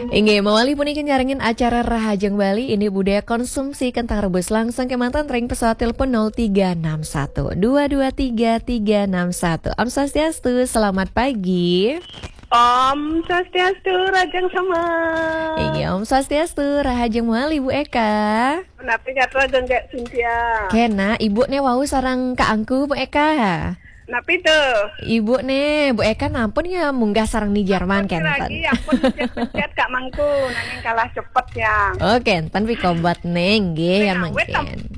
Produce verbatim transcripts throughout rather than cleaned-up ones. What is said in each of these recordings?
Inggih, mawali puniki nyarengin acara Rahajeng Bali, indik budaya konsumsi kentang rebus. Langsung kemanten ring pesawat telepon nol tiga enam satu dua dua tiga tiga enam satu. Om Swastiastu, selamat pagi. Om Swastiastu, Rahajeng Semeng. Inggih, Om Swastiastu, Rahajeng mawali, Bu Eka. Napi gatra Gék Cynthia? Kénak, Ibu né wau sareng kakangku, Bu Eka. Napi to? Ibu né, Bu Eka nampun ya munggah sareng Ni Jerman, ampun, kénten. Piragi, ampun, mencét-mencét Kak Mangku, nanging kalah cepet ya. Oh, kénten pikobet né, nggih, ya, mangkin.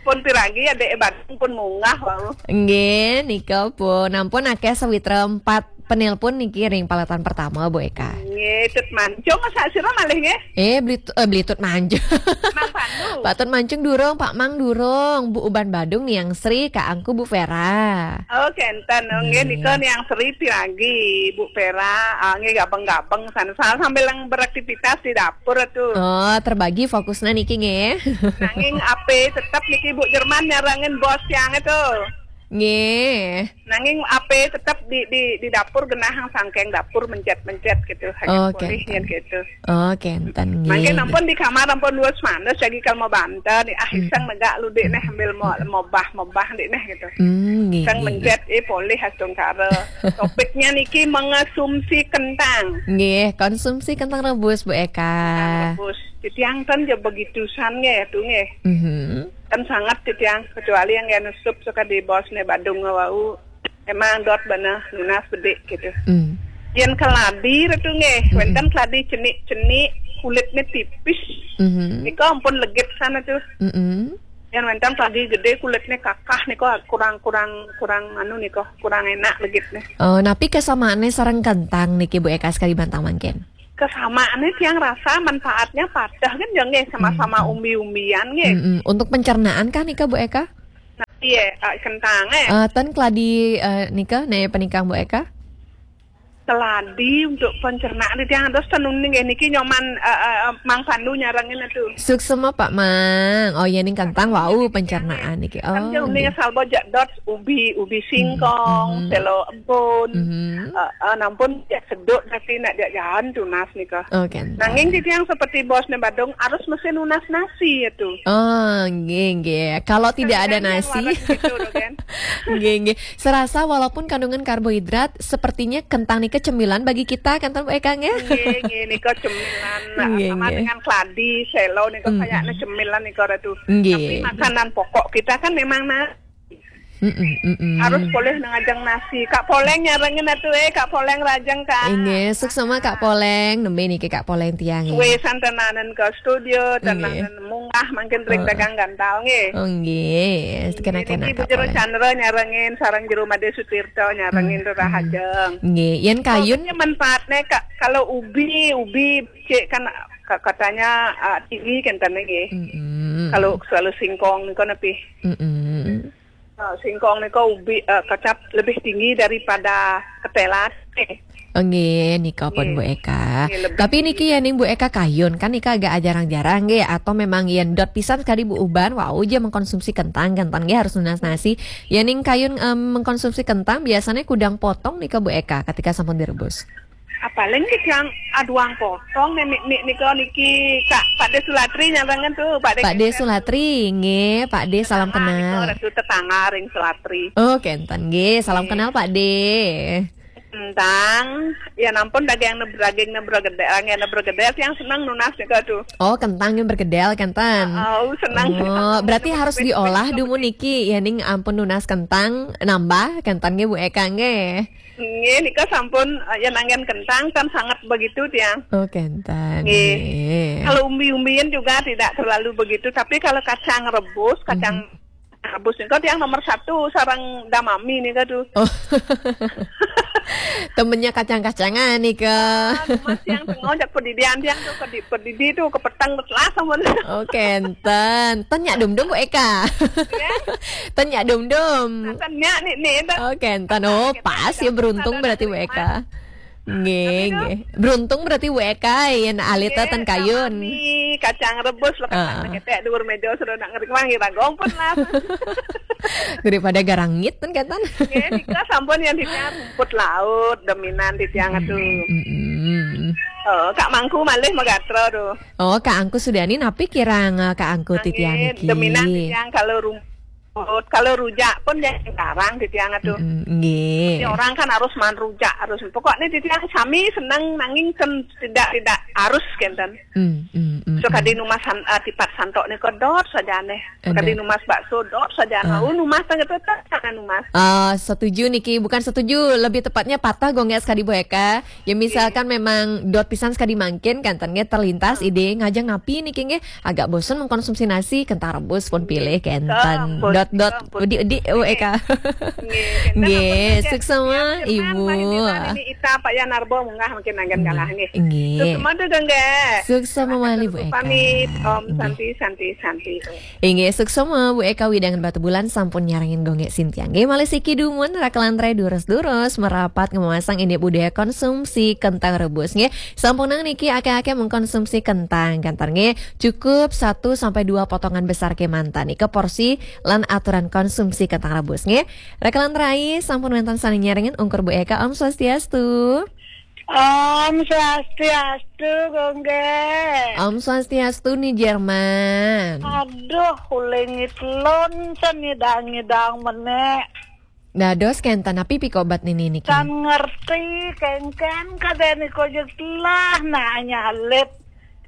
Pun piragi ya, Dék Badung pun munggah wau. Nggih, nika pun. Nampun akéh sawitra empat penelpon niki ring paletan pertama, Bu Eka. Nggih, Tut Mancung, sasira malih nggih? Eh, Bli-, eh, Bli Tut Mancung. Mang Pandu. Pak Tut Mancung durung, Pak Mang durung. Bu Uban Badung, Niang Sri, kakangku Bu Vera. Oh, kénten. Oh, nggih, nggih. Nika Niang Sri piragi, Bu Vera. Ah, nggih, gabeng-gabeng sana. Sa-, sambil yang beraktivitas di dapur tuh. Oh, terbagi fokusnya niki nggih. Nanging ape tetep niki Bu Jerman nyarengin bos tiang itu. Nggih. Nanging ape tetep di, di, di dapur genah sangking dapur mencét-mencét gitu. Hanya. Oh, polih kénten. Yen gitu. Oh, kénten, nggih. Mangkin ampun di kamar ampun luwes mandes lagi kalau mau banten. Ah, iseng negak lu, Dék, neh, ambil mau mobah-mobah, Dék, neh, gitu. Hmm, nggih, iseng nggih, mencét, nggih. Eh, polih astungkara. Topiknya niki mengonsumsi kentang. Nggih, konsumsi kentang rebus, Bu Eka. Kentang rebus. Titiang ten ya begitu san nggih, tuh nggih. Mhm. Kan sangat titiang, kecuali yang ya nesup suka di bos nih Badung wau. Emang dot bana nunas bedik gitu. Hmm. Yen keladi retu nggih, hmm, wénten keladi cenik-cenik, kulitnya tipis. Mhm. Nika ampun legit sana tuh. Mhm. Yen wénten keladi gedé kulitnya kakah nika kurang, kurang, kurang anu nika, kurang enak legitnya. Oh, napi kesamaannya sareng kentang niki Bu Eka sekali bantang mangkin? Kesamaannya tiang rasa manfaatnya padah kan ya nggih, sama-sama, hmm, umbi-umbian nggih. Mm-mm. Untuk pencernaan kah nika Bu Eka? Nah, iya, eh, kentang, eh. Eh, ten keladi, eh, nika, né penikang Bu Eka? Keladi untuk pencernaan tiang terus tenun nggih niki nyoman, eh, eh, eh, Mang Pandu nyarengin itu. Suksema Pak Mang. Oh, ya ning kentang wau pencernaan niki. Kan, oh, dia uning nggih. Salbo jak dot ubi, ubi singkong, mhm, selo embun. Mhm. Eh, eh, nampun jak seduk tapi nak jak jalan tunas nika. Oh, kénten. Nanging titiang seperti bos nih Badung harus mesti nunas nasi itu. Oh, nggih, nggih. Kalau tidak ada nasi. Kan gitu loh, kan. Nggih, nggih. Serasa walaupun kandungan karbohidrat, sepertinya kentang nika cemilan bagi kita, kan, Bu Eka, nggih? Nggih, nggih, nika cemilan. Nah, nggih, sama nggih. Dengan keladi, selo nika, mm-mm, kayaknya cemilan nika retu. Nggih. Tapi makanan pokok kita kan memang nasi. Mm-mm, mm-mm. Harus polih ngajeng nasi. Kak Poleng nyarengin atuh, eh, Kak Poleng Rajeng, Kak. Inggih, suksema Kak Poleng. Nembe niki Kak Poleng tiang, nggih. Suwe santenanen ke studio, nggih, tenanen munggah mangkin ring, oh, dagang gantal nggih. Oh, nggih. Nggih, kena-kena niki Kak Bujur Poleng. Chandra nyarengin, sareng Jero Made Sutirta nyarengin, hmm, Rahajeng. Nggih, yen kayun. Pokoknya manfaatnya, Kak, kalau ubi, ubi cek kan ka-, katanya, ah, tinggi kan tane nggih. Mm-mm. Kalau selalu singkong niku nepi. Mm-mm. Ah, singkong niku ubi, eh, kecap lebih tinggi daripada ketelan. Eh. Oh, nggih, nika pun, nggih. Bu Eka. Nggih, lebih. Tapi niki tinggi. Ya ning Bu Eka kayun, kan nika agak jarang-jarang nggih, atau memang yen dot pisan sekali Bu Uban, wau aja mengkonsumsi kentang, kentang nggih harus nunas nasi. Ya ning kayun, em, mengkonsumsi kentang biasanya kudang potong nika Bu Eka ketika sampun direbus. Apaling ki yang aduang potong nih, nih, nih, nika niki Kak Pak De Sulatri nyarengin tuh, Pak De. Pak De Sulatri, nggih, Pak De, salam kenal. Nika retu tetangga ring Sulatri. Oh, kenten nggih, salam kenal Pak De. Kentang, ya nampun daging neb-, daging nebrogedel, yang nebrogedel yang seneng nunas nika tuh. Oh, kentang yang bergedel, kenten. Oh, seneng. Oh, berarti harus diolah dumun niki, ya ning ampun nunas kentang, nambah, kenten nggih Bu Eka nggih. Nggih, nika sampun, eh, yen anggen kentang kan sangat begitu tiang. Oh, kenten. Nggih. Nggih. Kalau umbi-umbian juga tidak terlalu begitu, tapi kalau kacang rebus, kacang, mhm, rebus nika tiang nomor satu sareng damami nika tuh. Oh. Temennya kacang-kacangan nika. Ah, Mas yang tengok jak pedidian tiang tuh, pedi-, pedidi tuh kepetang telah sampun. Oh, kenten. Ten nyak dum-dum Bu Eka. Ya. Ten nyak dum-dum. Nah, ten nyak nih, nih, ten. Oh, kenten. Oh, pas ya, beruntung berarti Bu Eka. Nggih, nggih. Beruntung berarti Bu Eka yen alita ten kayun. Nggih, kacang rebus lho, kacang ketek dhuwur meja sudah nak ngering wangi ragong pun lah. Daripada garangit ten kenten. Nggih, nika sampun yang di rumput laut, dominan di tiang atuh. Mm-mm. Oh, Kak Mangku malih magatra tu. Oh, Kak Angku Sudiani, napi kirang, eh, Kak Angku titiang niki? Deminang titiang kalau rumput, kalau rujak pun jangan karang titiang tu. Mm, nggih. Orang kan harus man rujak, harus. Pokoknya titiang sami seneng nanging kan tidak, tidak harus kenten. Mm, mm, mm, so kadi numas san-, eh, tipat santok nika dot sajane. Kadi numas bakso dot sajane. Ah. Oh, numas tengah tetap sana numas. Ah, setuju niki, bukan setuju, lebih tepatnya patah gonggek sekali Bu Eka. Ya, misalkan memang dot pisan sekali mangkin, kenten nggih terlintas ide ngajeng napi niki nggih, agak bosen mengkonsumsi nasi, kentang rebus pun pilih kenten. Dot, dot, udi, udi, U E K. Nggih, suksema, Ibu. Ini Ita Pak Yan Narbo munggah mungkin anggen galah nggih. Nggih. Suksema tu, nggih. Suksema malih, Bu Eka. Pamit. Om Santi, Santi, Santi. Inggih, suksema Bu Eka Widangan Batubulan sampun nyarengin gonggek sintiang. Nggih, malih siki dumun rakelan rai durus-durus merapat ngemamasang indik budaya konsumsi kentang rebus. Nggih, sampunang niki akeh-akeh mengkonsumsi kentang. Kenten nggih, cukup satu sampai dua potongan besar kemanten. Nika porsi lan aturan konsumsi kentang rebus. Nggih, rakelan rai sampun wenten sane nyarengin ungkur Bu Eka. Om Swastiastu. Om Swastiastu, Gongge. Om Swastiastu, Ni Jerman. Aduh, ulingit lon sen ngidang-ngidang menek. Dados kenten napi pikobat nini niki? Kan ngerti, kengken kadeni kojek telah nak nyalit.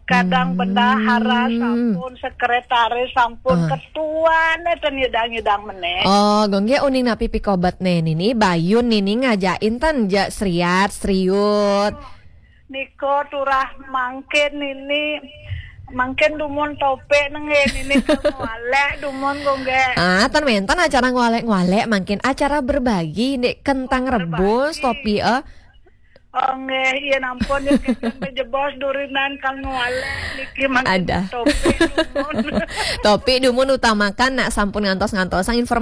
Kadang bendahara sampun, sekretaris sampun, ketua ne ten ngidang-ngidang menek. Oh, Gongge, uning napi pikobat ne nini, bayun nini ngajain ten ja seriat, seriut. Niko turah mangkin nini, mangkin dumun topik nengge nini, kalau ngwalek dumun, Gongge. Ah, ten menten acara ngwalek-ngwalek, mangkin acara berbagi, ndik kentang rebus, topi, eh. Oh, nggih, iya nampun, ya, kenten bejebos durinan kal ngwalek niki mangkin. Ada. Topi dumun. Topi dumun utamakan nak sampun ngantos-ngantosang informasi